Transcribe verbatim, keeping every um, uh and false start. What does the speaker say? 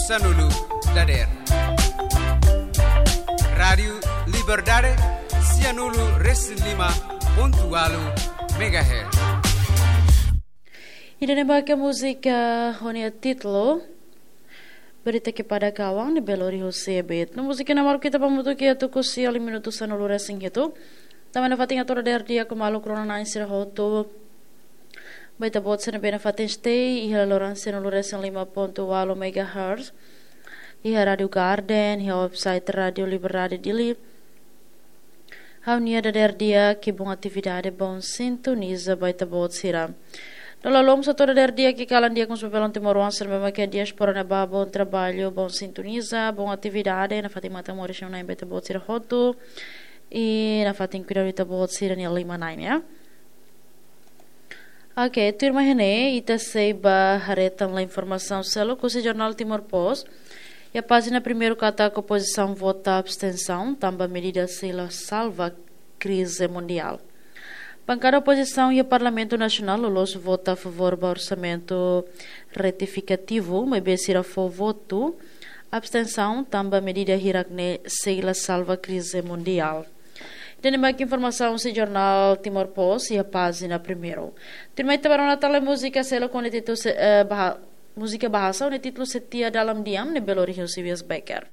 Sanulu dader. Rádiu Liberdade, sianulu resin lima pontu walu megahertz. Ida-ne'e mak múzika ho nia títulu Berita Kepada Kawan, ne'ebé lori husi Ebit. No múzika ne'e mak ita hamutuk iha tuku sia liu minutu sanulu resin hitu. Tanba nafatin atu dader di'ak ho maluk rona-na'in sira hotu ba ita-boot sira ne'ebé nafatin stay iha laloran sianulu resin lima pontu walu megahertz. Iha Rádiu Garden, iha website Rádiu Liberdade Dili. Ha'u-nia dader di'ak, bom atividade, bom sintoniza ba ita-boot sira. No lalom atu dader di'ak, kalan di'ak mós ba belun timoroan sira ne'ebé mak iha diáspora ne'ebá, bom trabalho, bom sintoniza, bom atividade, nafatin matan moris no nain ba ita-boot sira hotu. I nafatin kuidadu ita-boot sira-nia liman-na'in, ya. Ok, tuirmai ne'e, ita sei ba haree tan informasaun seluk husi jornál Timor Post. Iha pájina primeiru katak opozisaun vota abstensaun, tanba medida sei la salva krize mundiál. Bankada opozisaun iha Parlamentu Nasionál loloos vota a favór ba orsamentu retifikativu, maibé sira fó votu abstensaun, tanba medida hirak-ne'e sei la salva krize mundiál. Ida-ne'e mak informasaun husi jornál Timor Post iha pájina primeiru. Tuirmai ita bá rona tan múzika seluk ho nia títulu se-, eh, baha-, múzika bahasa ho nia títulu Setia Dalam Diam, ne'ebé lori husi Wies Becker.